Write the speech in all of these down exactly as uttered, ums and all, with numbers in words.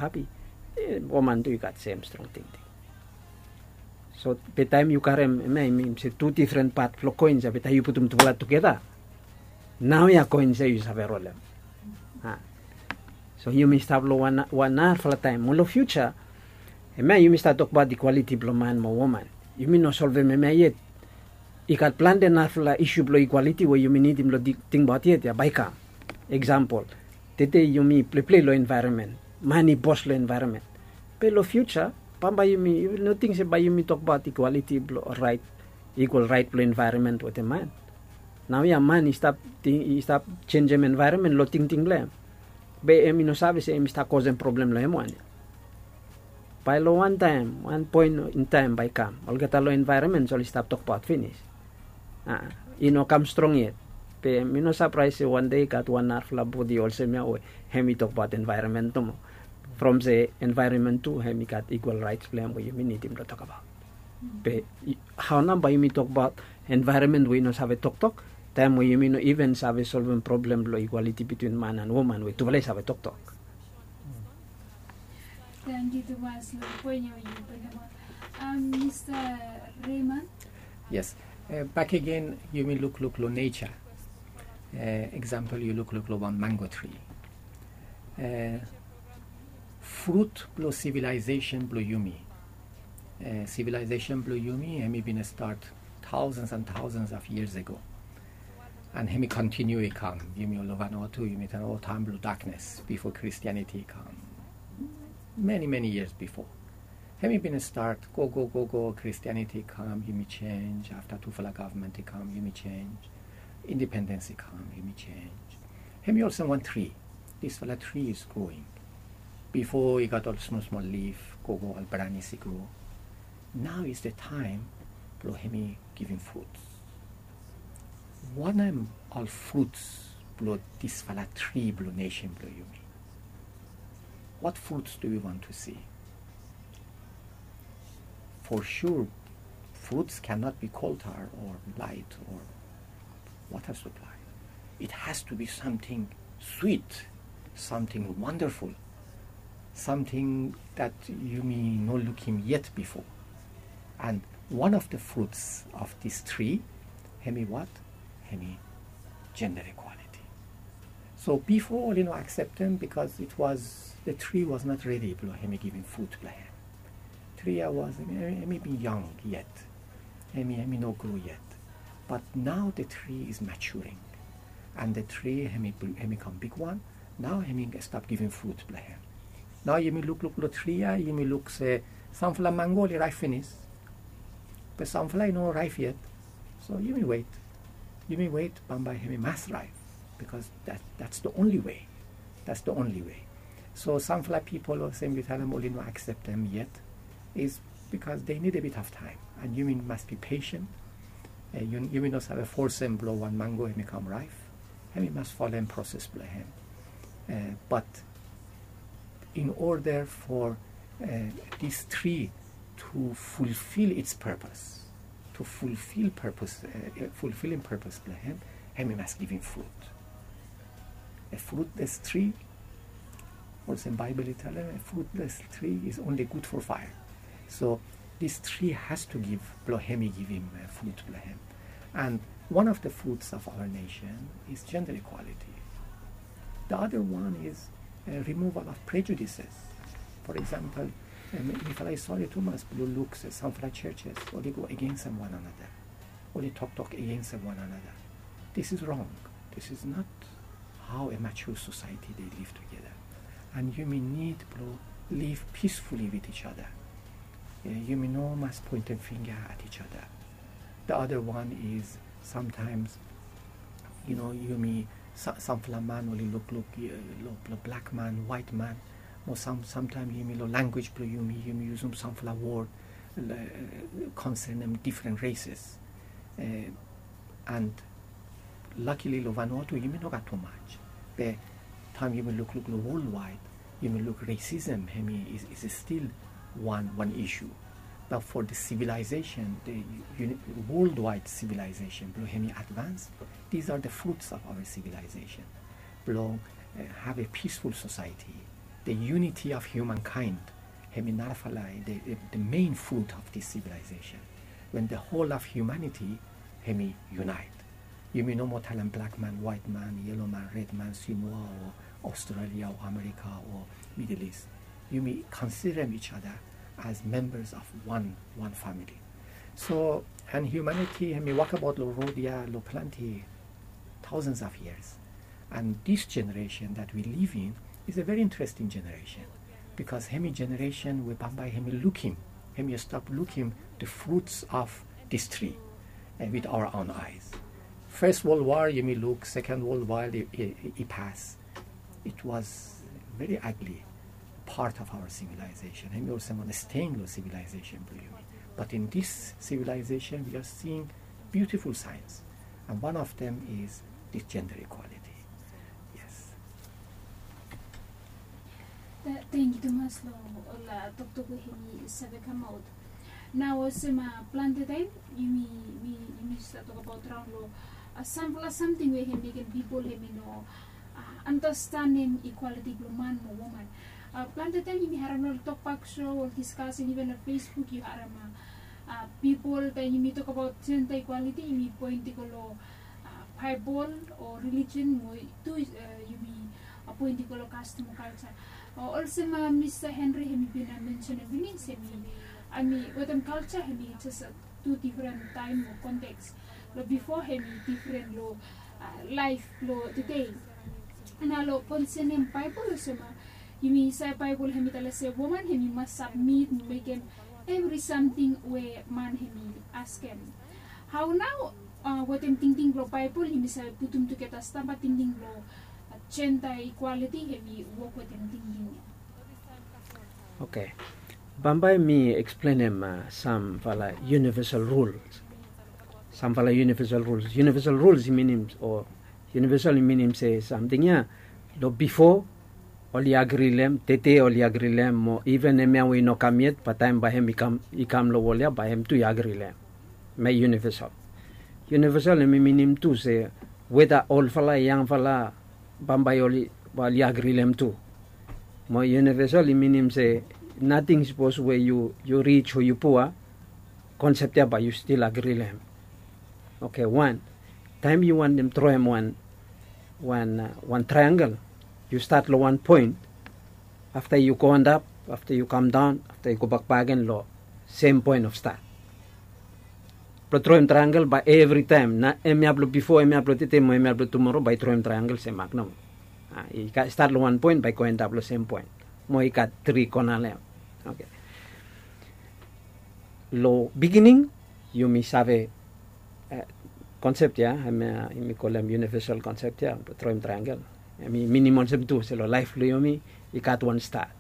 hapi. Woman tu i gat sem strong tingting. So be taem yu karem hemia i min se tu difren pat blong koins ya, be taem yu putum tufala tugeta, naoia koins ya yu save rolem. So yumi stap long wan narafala taem mo long fiuja. Hemia yumi stap tokbaot ikwaliti blong man mo woman. Yumi no solvem hemia yet. I gat plante narafala isu blong ikwaliti we yumi nidim long tingbaot yet ya bae i kam. Eksampol, tede yumi pleplei long envaeronmen. Man i bos long envaeronmen. Be long fiuja bambae yumi, yu no ting se bae yumi tokbaot ikwaliti blong raet, ikwal raet blong envaeronmen wetem man? Naoia man i stap ting, i stap jenjem envaeronmen long tingting blong hem. Be hem i no save se hem i stap kosem problem long hem wan ya. Bae long wan taem, wan poen in taem bae i kam olgeta long envaeronmen oli stap tokbaot finis. I no kam strong yet. Be mi no sapraes se wan dei i gat wan narafala bodi olsem ya we hem i tokbaot envaeronmen nomo. From se envaeronmen tu hem i gat ikwal raets blong hem we yumi nidim blong tokbaot. Be hao nao bae yumi tokbaot envaeronmen we i no save toktok taem we yumi no iven save solvem problem blong ikwaliti bitwin man and woman we tufala i save toktok? Tangkiu tumas long poen ya we yu bringim ap. Mista Raymond? Yes. Bak agen, yumi lukluk long neja. Eksampol, yu lukluk long wan mango tri. Frut blong sivilaesesen blong yumi. Sivilaesesen blong yumi hem i bin stat taosens and taosens of yias ago. And hem i kontiniu i kam. Yumi ol long Vanuatu, yumi talem, o, taem blong daknes bifo Kristianiti i kam. Many, many years before. Hem i bin stat gogo, gogo, Kristianiti i kam, yumi jenj. Afta tufala gavman i kam, yumi jenj. Indipendens i kam, yumi jenj. Hem i olsem wan tri. Disfala tri is growing. Bifo i gat ol smol smol lif, gogo, ol branis i gro. Nao is the taem blong hem i givim fruts. Wanem ol fruts blong disfala tri blong nesen blong yumi? What fruits do we want to see? For sure, fruits cannot be coal tar or light or water supply. It has to be samting swit, samting wandaful, samting dat yumi no lukim yet bifo. And one of the fruits of this tree, hem i what? Hem i gender equality. So bifo oli no akseptem because it was, the tree was not ready blong hem i givim frut blong hem. Tri ya was, hem i bin yong yet. Hem i, hem i no gro yet. But nao the tree is maturing. And the tree hem i, hem i kam bigwan. Nao hem i stap givim frut blong hem. Nao yumi lukluk long tri ya, yumi luk se samfala mango oli raep finis. Be samfala i no raep yet. So yumi wet. Yumi wet, bambae hem i mas raep. Because that, that's the only way. That's the only way. So samfala pipol olsem yu talem oli no akseptem yet is because they need a bit of time. And yumi mas be patient. Yumi no save fosem blong wan mango hem i kam raep. Hem i mas folem proses blong hem. But in order for this tree to fulfil its purpose, to fulfil purpose, fulfilim purpose blong hem, hem i mas givim frut. A fruitless tree, olsem Baebol i talem, a fruitless tree is only good for fire. So this tree has to give blong hem i givim frut blong hem. And one of the fruits of our nation is gender equality. The other one is removal of prejudices. For example, mifala i sore tumas blong luk se samfala churches oli go agensem wan another, oli toktok agensem wan another. This is wrong. This is not how a mature society they live together. And yumi nid blong live peacefully with each other. Yumi no mas poentem finga at each other. The other one is sometimes, you know, yumi, samfala man oli lukluk long blak man, waet man, o samtaem yumi long language blong yumi, yumi yusum samfala wod konsenem difren rases. And luckily long Vanuatu yumi no gat tumaj. Be taem yumi lukluk long worldwide, yumi luk racism hem i is still wan, wan issue. But for the civilization, the worldwide civilization blong hem i advance, these are the fruits of our civilization. Blong have a peaceful society, The unity of humankind, hemi narafala, the, the, the main fruit of this civilization. When the whole of humanity, hemi unite. Yumi no moa talem black man, white man, yellow man, red man, Samoa, o Australia, o America, o Middle East. Yumi considerem each other as members of one, one family. So, and humanity, hemi wokabaot lo rod ya lo plante thousands of years. And this generation that we live in is a very interesting generation, because hemi generation we bambae hemi lukim, hemi stap lukim the fruits of this tree, eh, with our own eyes. First World War, yumi luk, Second World War, i, i, i pas. It was very ugly part of our civilization. Hemi olsem wan stain lo civilization blo yumi. But in this civilization, we are seeing beautiful signs. And one of them is this gender equality. Yes. Thank you tumas lo ol toktok we hemi save kamaot. Nao olsem plante taem yumi, yumi stap tokabaot raon lo samfala samting we hemi mekem pipol hemi no andastanem equality blo man mo woman. Plante taem yumi harem lo ol tokbak so, ol discussion, even lo Facebook yu harem pipol taem yumi tokabaot gender equality yumi poen i go lo Baebol o religion mo tu yumi poen i go lo kastom o kalja. Olsem Mista Henry hemi bin mensenem finis, hemi, hemi wetem kalja hemi jes tu difren taem o konteks. Lo bifo hemi difren lo laef blo tede. Nao lo konsenem Baebol olsem yumi save Baebol hemi talem se woman hemi mas sabmit mo mekem evri samting we man hemi askem. Hao nao wetem tingting blo Baebol yumi save putum tugeta stamba tingting blo gender equality hemi wok wetem tingting ya? Oke. Bambae mi eksplenem samfala universal rules. Samfala universal rules. Universal rules i minim, o universal i minim se samting ya lo bifo oli agri lo hem, tede oli agri lo hem, mo iven hemia we i no kam yet, bae taem bae hem i kam, i kam lo wol ya, bae hem tu i agri lo hem. Hemia i universal. Universal hemi minim tu se weta olfala, yangfala, bambae oli, oli agri lo hem tu. Mo universal i minim se nating sapos we yu, yu rij o yu pua, konsep ya bae yu stil agri lo hem. Oke, wan. Taem yu wantem droem wan, wan, wan triangle, yu stat lo wan poen. Afta yu go antap, afta yu kam daon, afta yu gobak bakegen lo sem poen of stat. Blo droem triangle bae evri taem, na hemia blo bifo, hemia blo tede mo hemia blo tumoro, bae droem triangle sem mak nomo. I stat lo wan poen bae go antap lo sem poen. Mo i gat tri kona lo hem. Oke. Lo bigining yumi save konsep ya, hemia yumi kolem universal konsep ya, droem triangle. Hemi minim olsem tu se lo laef blo yumi i gat wan stat.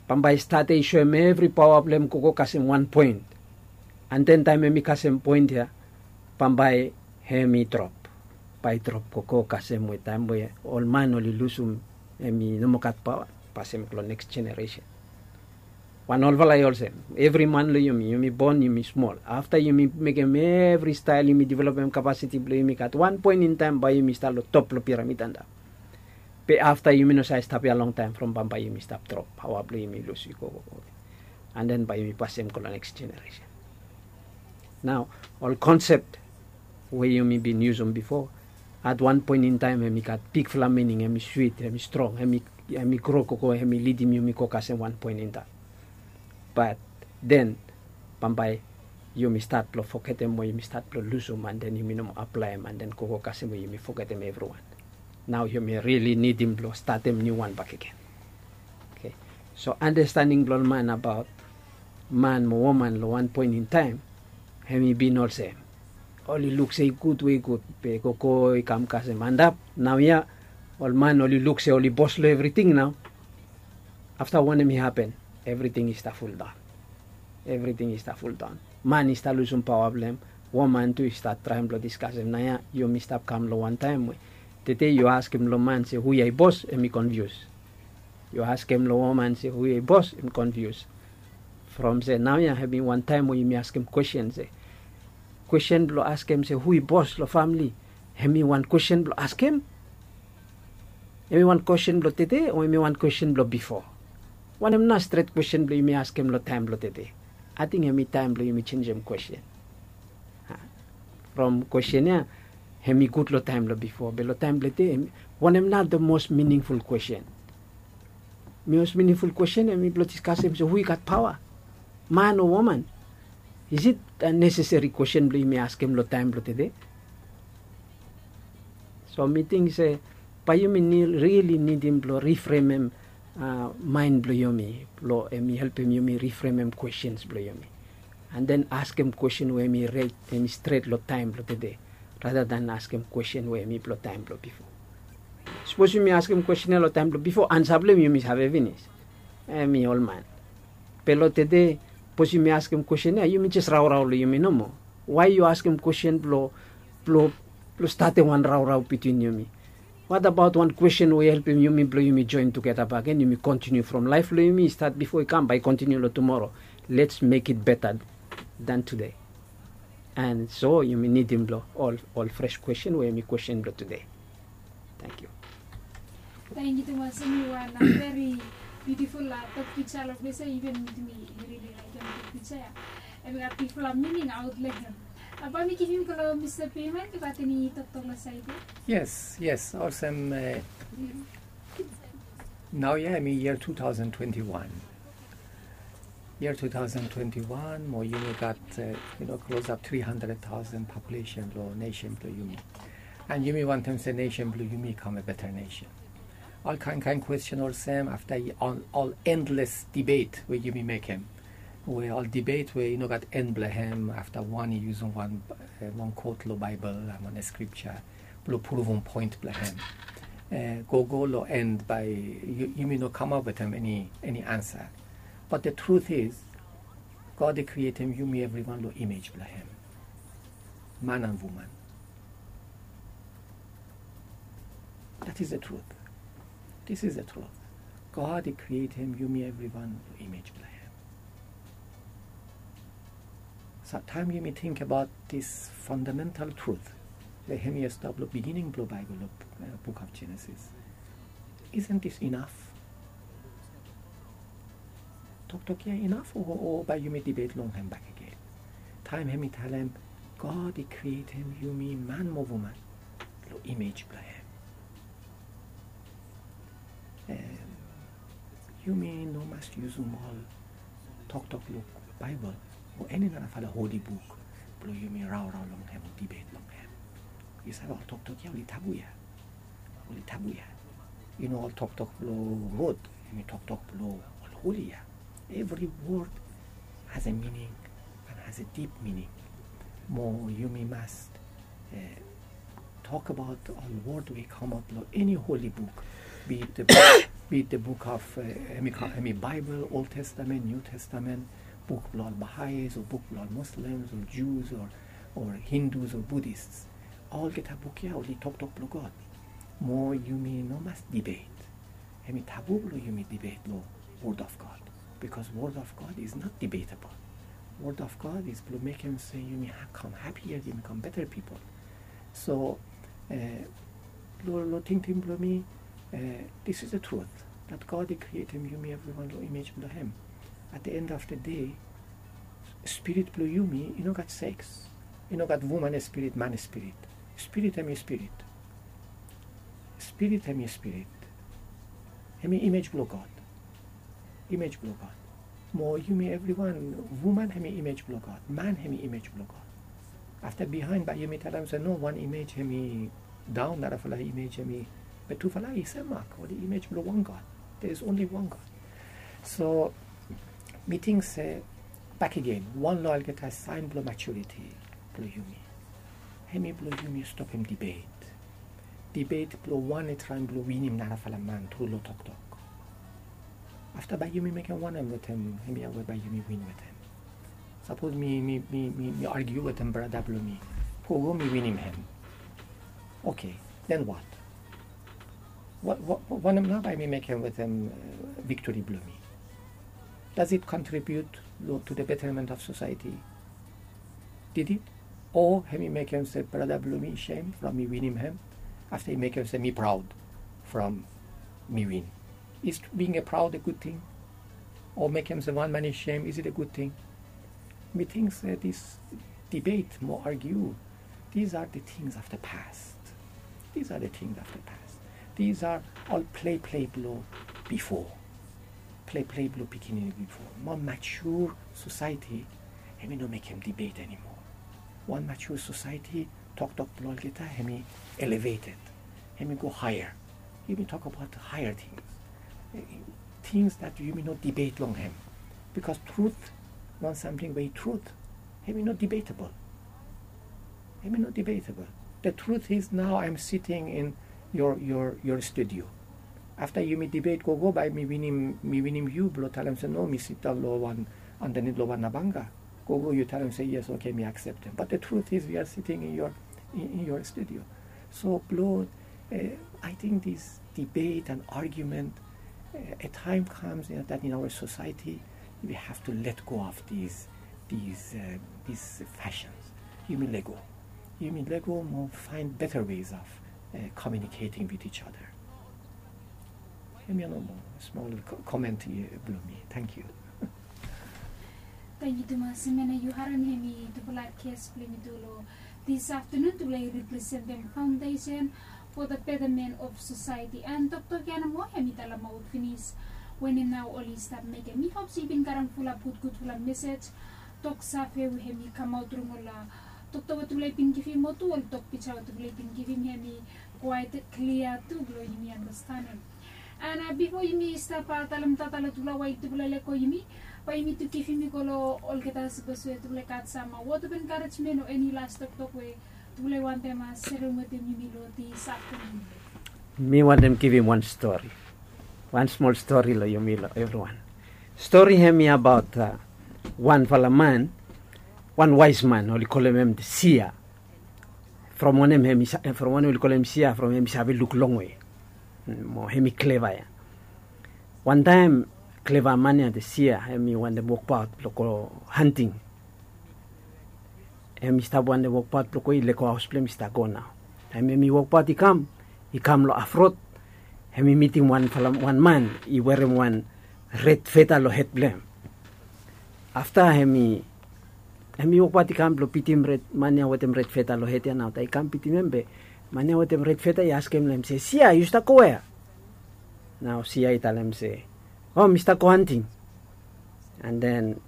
Bambae stat ya i soem evri paoa blo hem gogo kasem wan poen. An den taem hemi kasem poen ya, bambae hemi drop. Bae i drop gogo kasem we taem we ol man oli lusum, hemi no moa gat paoa, pasem go lo neks jeneresen. Wan olfala i olsem, evri man lo yumi, yumi bon, yumi smol. Afta yumi mekem evri stael, yumi developem kapasiti blo yumi gat wan poen in taem bae yumi stap lo top lo piramid antap. Be afta yumi no save stap ya longtaem, from bambae yumi stap drop, paoa blo yumi lus i gogo. An den bae yumi pasem go lo neks jeneresen. Nao ol konsep we yumi bin yusum bifo, at wan poen in taem hemi gat bigfala mining, hemi swit, hemi strong, hemi, hemi gro gogo, hemi lidim yumi go kasem wan poen in taem. Bat den bambae yumi stat blo fogetem o yumi stat blo lusum, an den yumi no moa aplaem, an den gogo kasem we yumi fogetem evriwan. Nao yumi rili nidim blo statem niuwan bakegen. Oke. So andastanding blo ol man abaot man mo woman lo wan poen in taem, hemi bin olsem, oli luk se i gud we i gud, be gogo i kam kasem antap. Naoia ol man oli luk se oli bos lo evriting nao. Afta wanem i hapen? Evriting i stap fuldaon. Evriting i stap fuldaon. Man i stap lusum paoa blo hem. Woman tu i stap traem blo diskasem. Naoia yumi stap kam lo wan taem we tede yu askem lo man se hu ya i bos, hemi konfius. Yu askem lo woman se hu ya i bos, hemi konfius. From se naoia hemi wan taem we yumi askem kwestin se, kwestin blo askem se hu i bos lo famle, hemi wan kwestin blo askem. Hemi wan kwestin blong tede o hemi wan kwestin blong bifo? Wanem nao stret kwestin blong yumi askem long taem blong tede? Ating hemi taem blong yumi jenjem kwestin. From kwestin ya, hemi gud long taem blong bifo be long taem blong tede, wanem nao the most meaningful kwestin? Most meaningful kwestin hemi blong diskasem se hu i gat paoa, man o woman? Is it a neseseri kwestin blong yumi askem long taem blong tede? So mi ting se bae yumi rili nidim blong rifremem maen blong yumi blong hemi helpem yumi rifremem kwestins blong yumi, an den askem kwestin we hemi ret, hemi stret long taem blong tede, rata dan askem kwestin we hemi blong taem blong bifo. Sapos yumi askem kwestin ya long taem blong bifo, ansa blong hem yumi save finis, hemi olman. Be long tede, sapos yumi askem kwestin ya, yumi jes raorao long yumi nomo. Wae yu askem kwestin blong blong blong statem wan raorao bitwin yumi? What about wan kwestin we i helpem yumi blong yumi joen tugeta bakegen, yumi kontiniu from laef blong yumi i stat bifo i kam bae i kontiniu long tumoro. Let's make it better than today. An so yumi nidim blong ol ol fres kwestin we hemi kwestin blong tede. Tangkiu. Tangkiu tumas. Hemi wan veri biutiful tok piksa long ples ya, iven mi rili laekem tok piksa ya. Hemi gat bigfala mining aot long hem. Bae mi givim go long Mista Peiman, yu gat eni toktok long saed ya? Yes, yes, olsem naoia hemi yia two thousand twenty-one. Yia two thousand twenty-one, mo yumi gat yu no klosap tri handred taosen populesen blong nesen blong yumi. An yumi wantem se nesen blong yumi i kam a beta nesen. Ol kaen kaen kwestin olsem afta ol endles dibet we yumi mekem, we ol dibet we i no gat en blong hem, afta wan i yusum wan long kot long Baebol an wan skripja blong pruvum poen blong hem, gogo long en bae yumi no kamap wetem eni ansa. Bat the truth is, God i krietem yumi evriwan long imej blong hem, man an woman. That is the truth. This is the truth. God i krietem yumi evriwan long imej blong hem. Samtaem yumi tingbaot this fundamental truth, we hemia stap long beginning blong Baebol, long Book of Genesis. Isn't this enough? Toktok ia inaf o bae yumi dibet long hem bakegen? Taem hemi talem God i krietem yumi man mo woman long imej blong hem. Yumi no mas yusum ol toktok long Baebol o eni narafala holi buk blong yumi raorao long hem o dibet long hem. Yu save, ol toktok ia oli tabu ia. Oli tabu ia. Yu no ol toktok blong rod, hemi toktok blong ol holi ia. Evri wod has a mining an has a dip mining. Mo yumi mas tokbaot ol wod we i kamaot long eni holi buk, be it the book of, hemi Baebol, Old Testament, New Testament, buk blong ol Bahais o buk blong ol Muslims o Jews o Hindus o Buddhists. Olgeta buk ia oli toktok blong God. Mo yumi no mas dibet. Hemi tabu blong yumi dibet long Word of God, because Word of God is not debatable. Word of God is blong mekem se yumi kam hapia, yumi kam beta pipol. So long tingting blong mi, this is the truth, that God i krietem yumi evriwan long imej blong hem. At the end of the day, spirit blong yumi i no gat seks. I no gat woman spirit, man spirit. Spirit hemi spirit. Spirit hemi spirit. Hemi imej blong God. Imej blong God. Mo yumi evriwan, woman hemi imej blong God, man hemi imej blong God. Afta bihaen bae yumi talem se no, wan imej hemi daon, narafala imej hemi, be tufala i sem mak, oli imej blong wan God. There is only one God. So mi ting se bakegen, wan long olgeta saen blong maturiti blong yumi, hemi blong yumi stopem dibet. Dibet blong wan i traem blong winim narafala man tru long toktok. Afta bae yumi mekem wanem wetem hemia we bae yumi win wetem? Sapos mi, mi, mi, mi argiu wetem brata blong mi, gogo mi winim hem. Oke, then what? Wanem nao bae mi mekem wetem viktori blong mi? Does it contribute to the betterment of society? Did it? O hemi mekem se brata blong mi i sem from mi winim hem, afta i mekem se mi praod from mi win. Is being a proud a good thing? O mekem se wan man i sem, is it a good thing? Mi ting se this debate mo argue, these are the things of the past. These are the things of the past. These are ol play play blo bifo. Play play blo pikinini bifo. Mo mature society, hemi no mekem debate anymore. Wan mature society, toktok blo olgeta hemi elevated, hemi go higher. Yumi tok abaot higher things, things that yumi no debate long hem. Because truth, wan samting we i truth, hemi no debatable. Hemi no debatable. The truth is now I'm sitting in your, your, your studio. Afta yumi debate gogo, bae mi winim, mi winim yu blo talem se no, mi sidaon lo wan, andanit lo wan nabanga. Gogo yu talem se yes, okay, mi akseptem. But the truth is we are sitting in your, in, in your studio. So blo, I think this debate and argument, a time comes that in our society we have to let go of these, these, these fashions. Yumi lego. Yumi lego mo find better ways of communicating with each other. Hemia nomo smol comment blo mi. Thank you. Tangkiu tumas. Hemia nao yu harem hemi tufala ges blo yumi tu lo this afternoon, tufala i representem Foundation for the Betterment of Society. And toktok ya nomo hemi talemaot finis wanem nao oli stap mekem. Mi hop se yu bin karem fulap gudgudfala mesej, tok save we hemi kamaot long ol toktok we tufala i bin givim, o tu ol tok pija we tufala i bin givim, hemi kwaet klia tu blo yumi andastanem. And bifo yumi stap talem tata lo tufala wae tufala lego yumi, bae yumi tu givim i go lo olgeta sapos we tufala i gat sam word of encouragement o eni las toktok we tufala i wantem serem wetem yumi lo this afternoon. Mi wantem givim wan stori, wan smol stori lo yumi, lo evriwan. Stori hemi abaot wanfala man, wan waes man, oli kolem hem Sia. From wanem hem i, from wanem oli kolem Sia, from hem i save luk longwe mo hem i kleva ya. Wantaem kleva man ya, the Sia, hem i wantem wokbaot blo go hanting. Hem i stap wantem wokbaot blo go, i lego haos blo hem i stap go nao. Taem hem i wokbaot i kam, i kam lo hafrod, hem i mitim wanfala wan man i werem wan red feta lo hed blo hem. Afta hem i, hem i wokbaot i kam blo bitim red, man ya wetem red feta lo hed ya nao. Taem i kam bitim hem be man ya wetem red feta i askem lo hem se, Sia, yu stap go wea? Nao Sia i talem se, o, mi stap go hanting. And then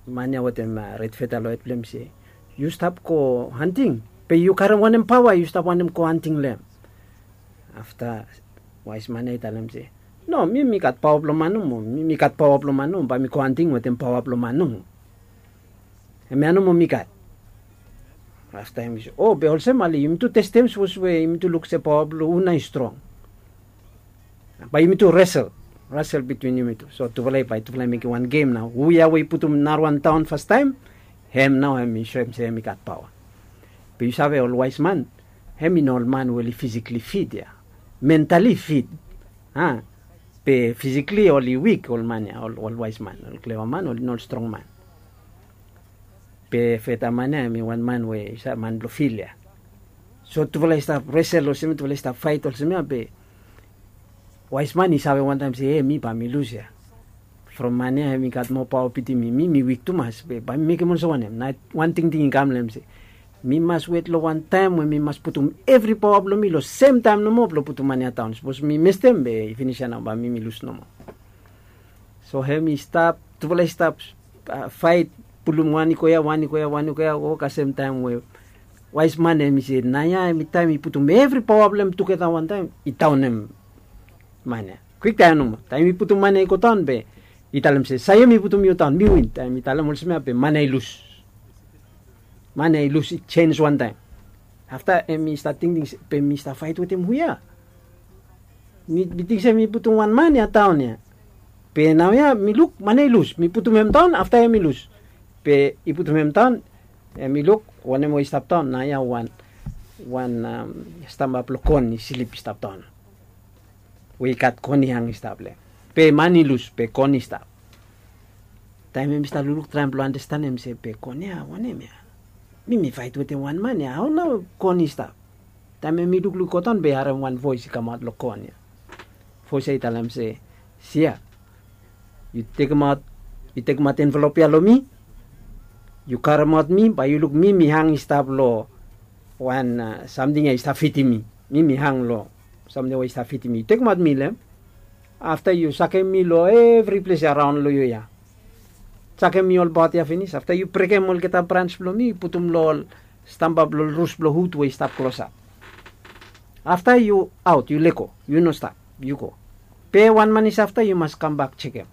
man ya wetem red feta lo hed blo hem i se, yu stap go hanting? Be yu karem wanem paoa yu stap wantem go hanting lo hem? Afta waes man ya i talem se, no, mi mi gat paoa blo man nomo, mi mi gat paoa blo man nomo, bae mi go hanting wetem paoa blo man nomo. Hemia nomo mi gat. Afta hem i se, o, be olsem ale yumitu testem sapos we yumitu luk se paoa blo hu nao i strong. Bae yumitu resel, resel bitwin yumitu. So tufala i, bae tufala i mekem wan gem nao. Hu ya we i putum narawan daon fastaem, hem nao hem i soem se hem i gat paoa. Be yu save ol waes man, hem i no ol man we oli fisikli fit ya. Mentali fit. A, be fisikli oli wik ol man ya, ol waes man, ol kleva man, oli no ol strong man. Be feta man ya hem i wan man we i save, man blo fil ya. So tufala i stap resel olsem ya, tufala i stap faet olsem ya, be waes man i save wantaem se, e, mi bae mi lus ya. From man ya hem i gat moa paoa bitim mi, mi mi wik tumas, be bae mi mekem olsem wanem? Nao wan tingting i kam lo hem se, mi mas wet lo wan taem we mi mas putum evri paoa blo mi lo semtaem nomo blo putum man ya daon. Sapos mi mestem be i finis ya nao, bae mi mi lus nomo. So hem i stap, tufala i stap faet, pulum wan i go ya, wan i go ya, wan i go ya, go kasem taem we waes man hem i se, naoia hem i taem i putum evri paoa blo hem tugeta wantaem, i daonem man ya. Kwiktaem nomo, taem i putum man ya i go daon be i talem se, Saio, mi putum yu daon, mi win. Taem i talem olsem ya be man ya i lus. Man ya i lus, i jenis wantaem. Afta hem i stap tingting se, be mi stap faet wetem hu ya? Mi, mi ting se mi putum wan man ya daon ya. Be naoia mi luk, man ya i lus. Mi putum hem daon, afta hem i lus. Be i putum hem daon, hem i luk wanem we i stap daon. Naoia wan, wan stamba blo kon i slip i stap daon. We i gat kon i hang i stap lo hem. Be man i lus, be kon i stap. Taem hem i stap lukluk, traem blo andastanem se, be kon ya wanem ya? Mi mi faet wetem wan man ya, hao nao kon i stap? Taem hem i lukluk i go daon be i harem wan voes i kamaot lo kon ya. Bos ya i talem se, sia, yu tekemaot yu tekemaot envelop ya long mi. Yu karemaot mi, bae yu luk mi mi hang i stap long wan samting ya i stap fitim mi. Mi mi hang long samting ya i stap fitim mi. Yu tekemaot mi long hem. Afta yu sakem mi long evri ples ya raon long yu ya. Sakem mi olbaot ya finis. Afta yu brekem olgeta brans blong mi, yu putum long ol stamba blong ol rus blong hud we i stap klosap. Afta yu aot, yu lego, yu no stap, yu go. Be wan man i stap afta yu mas kambak jekem.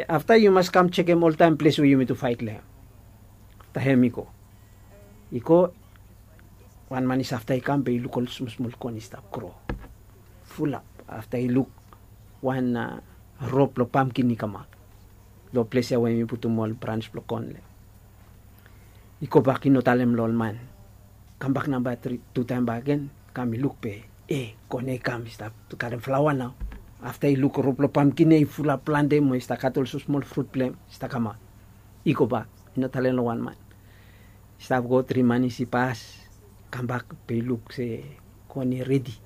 Afta yu mas kam jekem oltaem ples we yumi tu faet long hem. Afta hem i go. I go, wan man i stap afta i kam be i luk ol smosmol kon i stap gro fulap. Afta i luk wan rop blong pamkin i kamaot long ples ya we yumi putum ol brans blong kon long hem. I gobak i no talem long ol man. Kambak namba tri, tu taem bakegen, kam i luk be, e, kon ya i kam i stap karem flaoa nao. Afta i luk rop blong pamkin ya i fulap plante mo i stap gat ol smosmol frut blong hem i stap kamaot. I gobak, i no talem long wan man. I stap go tri manis i pas, kambak be i luk se kon i redi.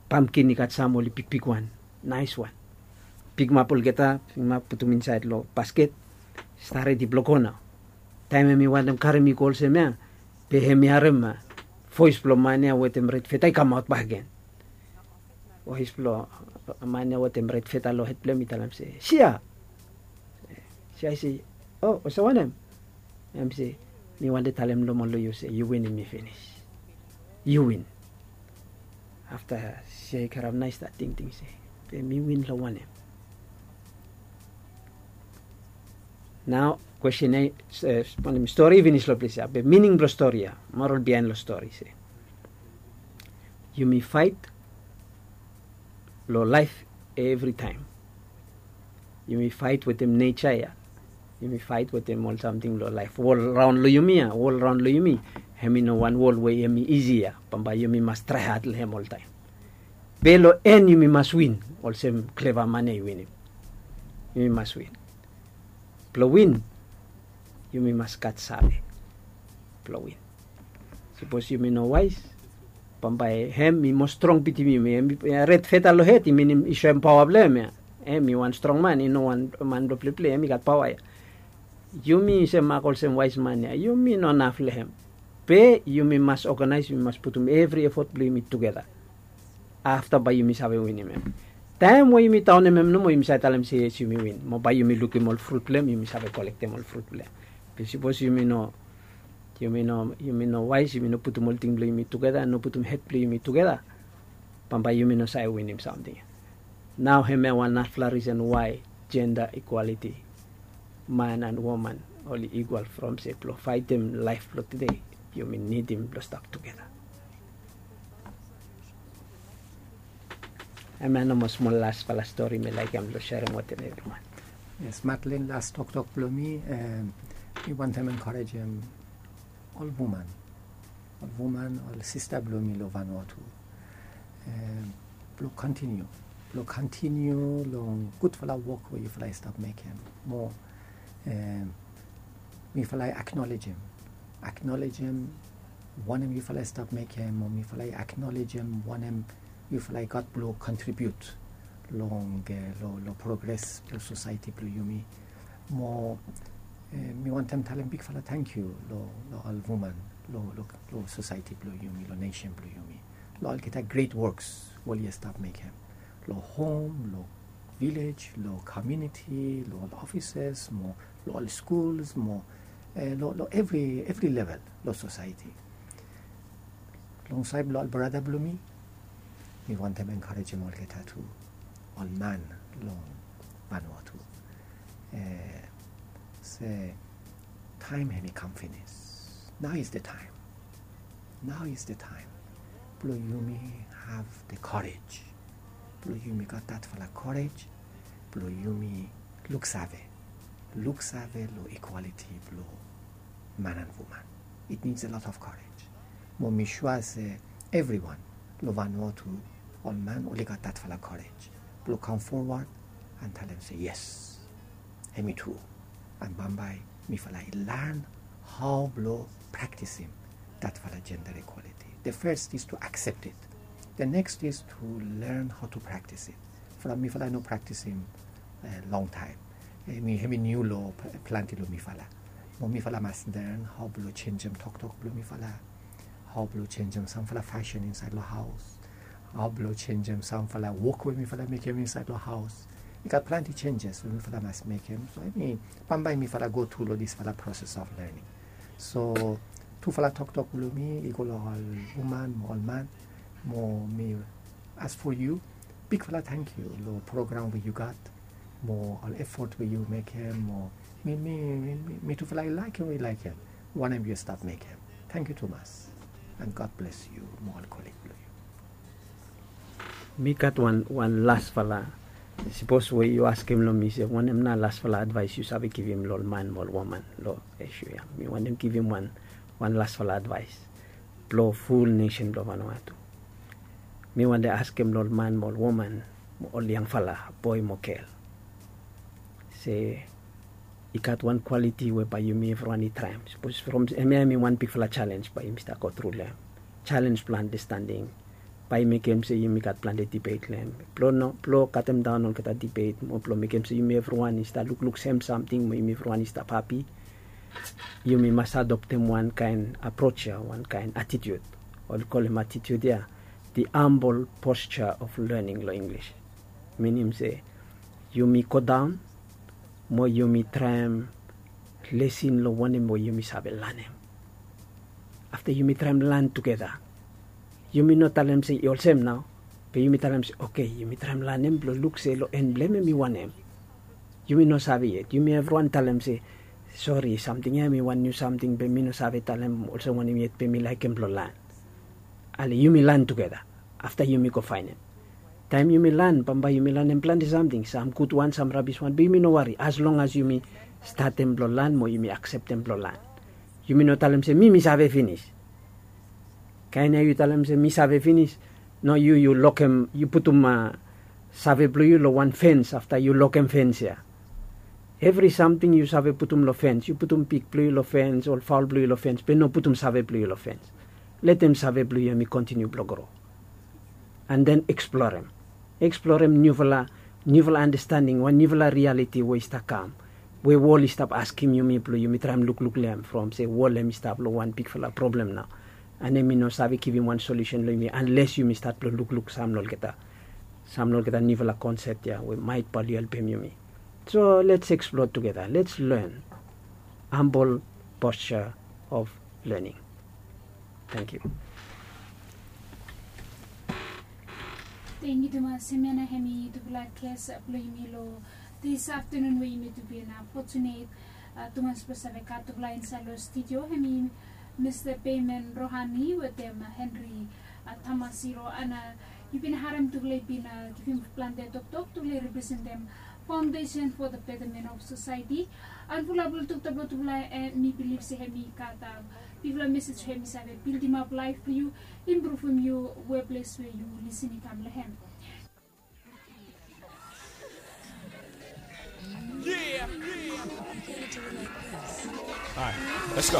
Pamkin i gat sam oli bigbigwan, naeswan. Pikimap olgeta, pikimap putum insaed long basket. Stap redi blong go nao. Taem hem i wantem karem i go olsem ya, be hem i harem voes blong man ya wetem red feta i kamaot bakegen. Voes blong man ya wetem red feta long hed blong hem i talem se, sia. Sia i se, o, olsem wanem? Hem se, mi wantem talem nomo long yu se yu winim mi finis. Yu win. Afta sia i karem naes stap tingting se, be mi win long wanem? Nao kwesten ya, wanem, stori i finis long ples ya, be mining blong stori ya, moral biaen long stori se, yumi faet long laef evritaem. Yumi faet wetem neja ya. Yumi faet wetem ol samting long laef. Wol raon long yumi ya, wol raon long yumi. Hem i no wan wol we hem i isi ya. Bambae yumi mas traehad long hem oltaem. Be long en yumi mas win, olsem kleva man ya i winim. Yumi mas win. Blong win, yumi mas gat save blong win. Sipos yumi no waes, bambae hem i moa strong bitim yumi. Hem i red feta long hed, i minim i soem paoa blong hem ya. Hem i wan strong man, i no wan man blong pleplei, hem i gat paoa ya. Yumi olsem mak olsem waes man ya, yumi no naf long hem. Be yumi mas oganaes, yumi mas putum evri efot blong yumi tugeta. Afta bae yumi save winim hem. Taem we yumi daonem hem nomo, yumi save talem se yes, yumi win. Mo bae yumi lukim ol frut blong hem, yumi save kolektem ol frut blong hem. Be sipos yumi no, yumi no, yumi no waes, yumi no putum ol ting blong yumi tugeta, no putum hed blong yumi tugeta, bambae yumi no save winim samting ya. Nao hemia wan narafala risen wae jenda ikwaliti, man and woman oli ikwal, from se blong faetem laef blong tede, yumi nidim blong stap tugeta. Hemia nomo smol lasfala stori mi laekem blong serem wetem evriwan. Yes, Madeline, las toktok blong mi, mi wantem enkarejem ol woman, ol woman, ol sista blong mi long Vanuatu, blong kontiniu, blong kontiniu long gudfala wok we yufala i stap mekem. Mo mifala i aknolejem, aknolejem wanem yufala i stap mekem, mo mifala i aknolejem wanem yufala i gat blong kontribiut long, long progres blong sosaeti blong yumi. Mo mi wantem talem bigfala tangkiu long ol woman long sosaeti blong yumi, long nesen blong yumi, long olgeta gret woks we oli stap mekem long hom, long vilej, long komuniti, long ol ofises, mo long ol skuls, mo long evri level long sosaeti. Long saed blong ol brata blong mi, mi wantem enkarejem olgeta tu, ol man long Vanuatu, se taem hemi kam finis. Nao is the time. Nao is the time blong yumi have the courage, blong yumi gat datfala courage blong yumi luksave, luksave long equality blong man and woman. It needs a lot of courage. Mo mi sua se evriwan long Vanuatu, ol man oli gat datfala courage blong kam forward and talem se yes, hemi tru. And bambae mifala i lan hao blong praktisim datfala gender equality. The first is to accept it. The next is to learn how to practice it. From mifala no praktisim long taem. Hemi niu long plante long mifala. Mo mifala mas learn hao blong jenjem toktok blong mifala, hao blong jenjem samfala fasin insaed long haos, hao blong jenjem samfala wok we mifala mekem insaed long haos. I gat plante jenjes we mifala mas mekem. So hemi bambae mifala go tru long disfala proses of learning. So tufala toktok blong mi i go long ol woman mo ol man, mo mi as for yu, bigfala tangkiu long program we yu gat mo ol efot we yu mekem mo mi mi mi mi tufala i laekem we i laekem wanem yu stap mekem. Tangkiu tumas. And God bless yu mo ol kolig blong yu. Mi gat wan wan lasfala. Sipos we yu askem long mi se wanem nao lasfala advaes yu save givim long ol man mo ol woman long isu ya, mi wantem givim wan wan lasfala advaes blong ful nesen blong Vanuatu. Mi wantem askem long ol man mo ol woman mo ol yangfala boe mo gel se i gat wan kwaliti we bae yumi evriwan i traem. Sipos from hemia hemi wan bigfala jalens bae yumi stap go tru long hem. Jalens blong andastending bae i mekem se yumi gat plante dibet long hem. Blong no blong katemdaon olgeta dibet mo blong mekem se yumi evriwan i stap lukluk sem samting mo yumi evriwan i stap hapi, yumi mas adoptem wan kaen aproj ya, wan kaen atitiut. Oli kolem atitiut ya the humble posture of learning long Inglis. Minim se yumi godaon mo yumi traem lesin long wanem we yumi save lanem. Afta yumi traem lan tugeta. Yumi no talem se i olsem nao, be yumi talem se oke, yumi traem lanem blong luk se long en blong hem hemi wanem. Yumi no save yet. Yumi evriwan talem se sori, samting ya hemi wan niu samting be mi no save talem olsem wanem yet be mi laekem blong lan. Ale yumi lan tugeta. Afta yumi go faenem. Taem yumi lan bambae yumi lanem plante samting, sam gudwan sam rabiswan, be yumi no wari as long as yumi statem blong lan mo yumi akseptem blong lan. Yumi no talem se mi mi save finis. Kaen ya yu talem se mi save finis. No, yu yu lokem, yu putum save blong yu long wan fens afta yu lokem fens ya. Evri samting yu save putum long fens, yu putum pig blong yu long fens, ol faol blong yu long fens, be no putum save blong yu long fens. Letem save blong yu hemi kontiniu blong gro. And then eksplorem. Eksplorem niufala niufala andastending, wan niufala rialiti we i stap kam, we wol i stap askem yumi blong yumi traem lukluk long hem from se wol hemi stap long wan bigfala problem nao. And hemi no save givim wan solusen long yumi anles yumi stat blong lukluk sam long olgeta, sam long olgeta niufala konsep ya we maet bae oli helpem yumi. So let's explore together, let's learn. Humble posture of learning. Thank you. Tangkiu tumas. Hemia nao hemi tufala ges blong yumi long this afternoon we yumi tu bin fortunate tumas blong save gat tufala insaed long studio, hemi Mista Payman Rohani wetem Henry Tamasiro. Ana yu bin harem tufala i bin givim plante toktok, tufala i representem Foundation for the Betterment of Society. An fulap long toktok blong tufala, mi bilif se hemi gat bigfala mesej we hemi save bildimap laef blong yu, impruvim yu weples we yu lisin i kam long hem. Alright, let's go.